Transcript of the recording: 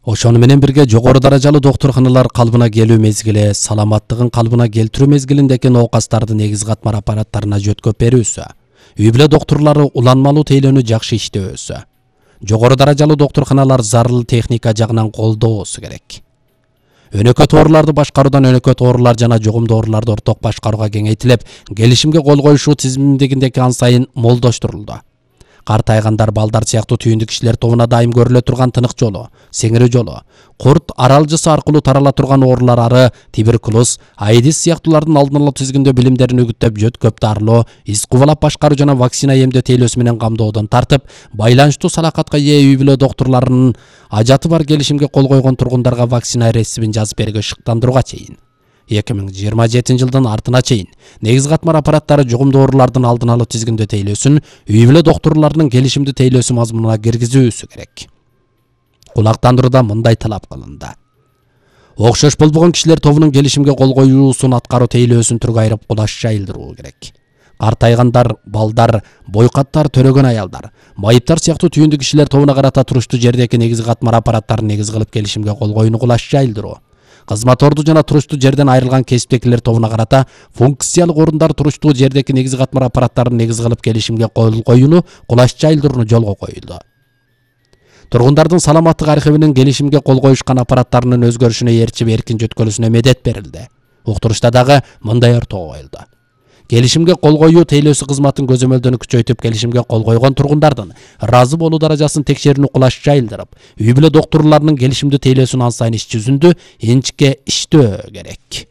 Ошону менен бирге жогору даражалуу доктурканалар калыбына келүү мезгили, саламаттыгын калыбына келтирүү мезгилиндеки оокастарды негиз катмар аппараттарына жөткөп берүүсү, үй бүлө доктурлары уланмалуу тейлөөнү жакшы иштөөсү, жогору даражалуу доктурканалар зарыл техника жагынан колдоосу керек. Өнөкөт ооруларды башкаруудан өнөкөт оорулар жана жугумдуу ооруларды орток башкарууга кеңейтилип, келишимге кол коюшуу тизимдигиндеги ан сайын молдоштурулду. Картайгандар, балдар сыяктуу түйүндүү кишилер тобуна дайым көрүлө турган тынык жолу, сеңирүү жолу, курт аралжысы аркылуу тарала турган оорулар ары, туберкулоз, аидис сыяктуулардын алдын алуу тизгиндөө билимдерин үгүттөп, жөткөп дарылоо, из кубалап башкаруу жана вакцина эмдөө тейлөөсү менен камдоодон тартып, байланыштуу салакатка ээ үй бүлө доктурларынын ажаты бар келишимге кол койгон тургундарга вакцина рецептин жазып берүүгө шыктандырууга чейин 2027 жылдын артына чейин негиз катмар аппараттары жугумдуу оорулардын алдын алуу тизгиндөө тейлөөсүн үй бүлө доктурларынын келишимдүү тейлөөсү мазмунуна киргизүүсү керек. Кулактандырууда мындай талап кылынды. Окшош болбогон кишилер тобунун келишимге кол коюусун аткаруу тейлөөсүн түргө айырып кулаш жайылдыруу керек. Картайгандар, балдар, бойкаттар, төрөгөн аялдар, майыптар сыяктуу түйүндүү кишилер тобуна карата туруштуу жердеки негиз катмар аппараттарын негиз кылып келишимге кол коюуну кулаш жайылдыруу. Кызматорду жана туруштуу жерден айрылган кесиптегилер тобуна карата функциялык орундар туруштуу жердеки негиз катмар аппараттарын негиз кылып келишимге кол коюуну кулаш жайылдырууну жолго коюлду. Тургундардын саламаттык архивинин келишимге кол коюшкан аппараттарынын өзгөрүшүнө ээрчип эркин жөткөлүүсүнө медет берилди. Уктурушта дагы мындай ортого коюлду. Келишимге кол коюу тейлөөсү кызматын көзөмөлдөнүп күчөйтүп, келишимге кол койгон тургундардын ыраазы болуу даражасын текшерүүнү кулаш жайылдырып, үй бүлө доктурларынын келишимдүү тейлөөсүн ан сайын иш жүзүндө инчикке иштөө керек.